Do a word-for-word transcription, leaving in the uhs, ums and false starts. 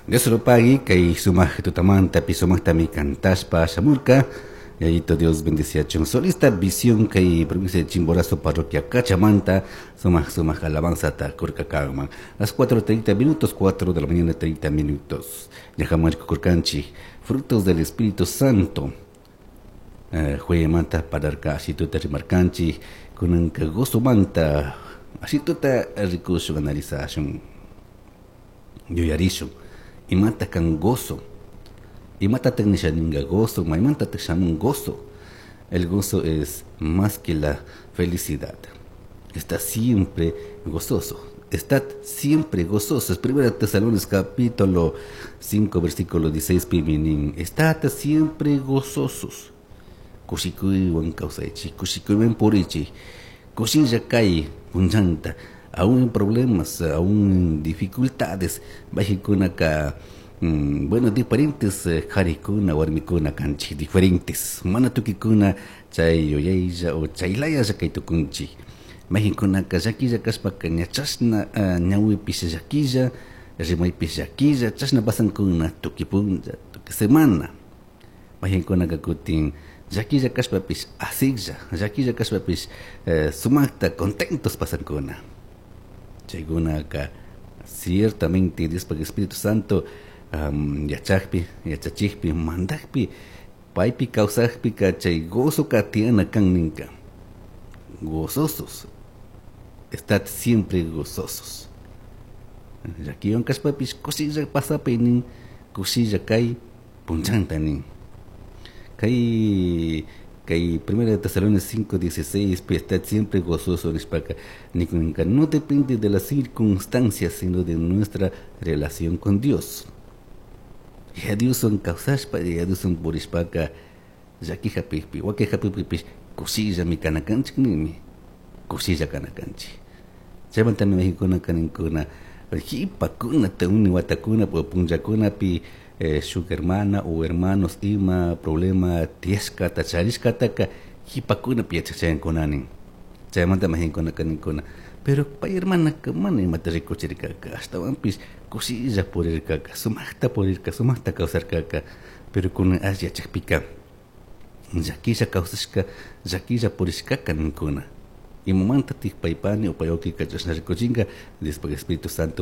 Dios lo pague, kay sumaj tutamanta pi sumajtami cantashpa shamurka. Yayito Dios bendeciachun. Solista Visión kay provincia de Chimborazo, parroquia Cachamanta, sumaj sumaj alabanza ta kurka kanman. Las cuatro treinta minutos, cuatro de la mañana treinta minutos. Ñajaman kurkanchik, frutos del Espíritu Santo. Eh, manta pararka ashituta rimarkanchik, kunanka gozomanta ashituta rikushun, analizashun, yuyarishun imata kan gozo, imatatak nisha ninga gozo, maymantatak shamun gozo. El gozo es más que la felicidad. Está siempre gozoso. Estad siempre gozosos. Primera Tesalonicenses capítulo cinco versículo dieciséis pimi nin. Estad siempre gozosos. Kushikuywan kawsaychik, kushikuywan purichik, kushilla kay punchanta, aún en problemas, aún en dificultades, mayqinkunaka, mm, bueno, diferentes eh, qarikuna, warmikuna kanchik, diferentes, mana tukikuna chay yuyaylla o chaylayalla kay tukunchik. Mayqinkunaka llakilla kashpaka ña chashna uh, ñawipish llakilla, rimaypish llakilla, chashna pasankuna tukuy punlla, tukuy semana. Mayqinkunaka kutin llakilla kashpapish asiklla, llakilla kashpapish eh, sumaqta contentos pasankuna. Chaykunaka ciertamente Diospaj Espíritu Santo um, yachakpi, yachachikpi, mandakpi, paypi kawsakpika chay gozoka tiyana kan ninka. Gozosos. Estad siempre gozosos. Llakiwan kashpapish kushilla pasapay nin, kushilla kay punchanta nin. Kay kay Primera de Tesalonicenses cinco dieciséis, pues, estad siempre gozoso nishpaka nikunka no depende de las circunstancias, sino de nuestra relación con Dios. Yaya Dioswan kawsashpa, Yaya Dioswan purishpaka llaki hapikpi, waki hapikpipish kushillami kana kanchik ninmi, kushilla kana kanchik. Chaymantami mayqinkunaka ninkuna qhipakuna uni watakuna punllakunapi eh, shuk hermana o hermanos ima problema tiyashkata charishkataka qhipakunapi yachachayankuna nin. Chaymanta mayqinkunaka ninkuna, pero pay hermanaka mana imata rikuchirkaka, ashtawanpish kushilla purirkaka, sumaqta purirka, sumaqta kawsarkaka, pero kunan ash yachakpika llakilla kawsashka, llakilla purishkaka ninkuna. Imamantatik paypani o pay wawkika chashna rikuchinka? Diospaj Espíritu Santo.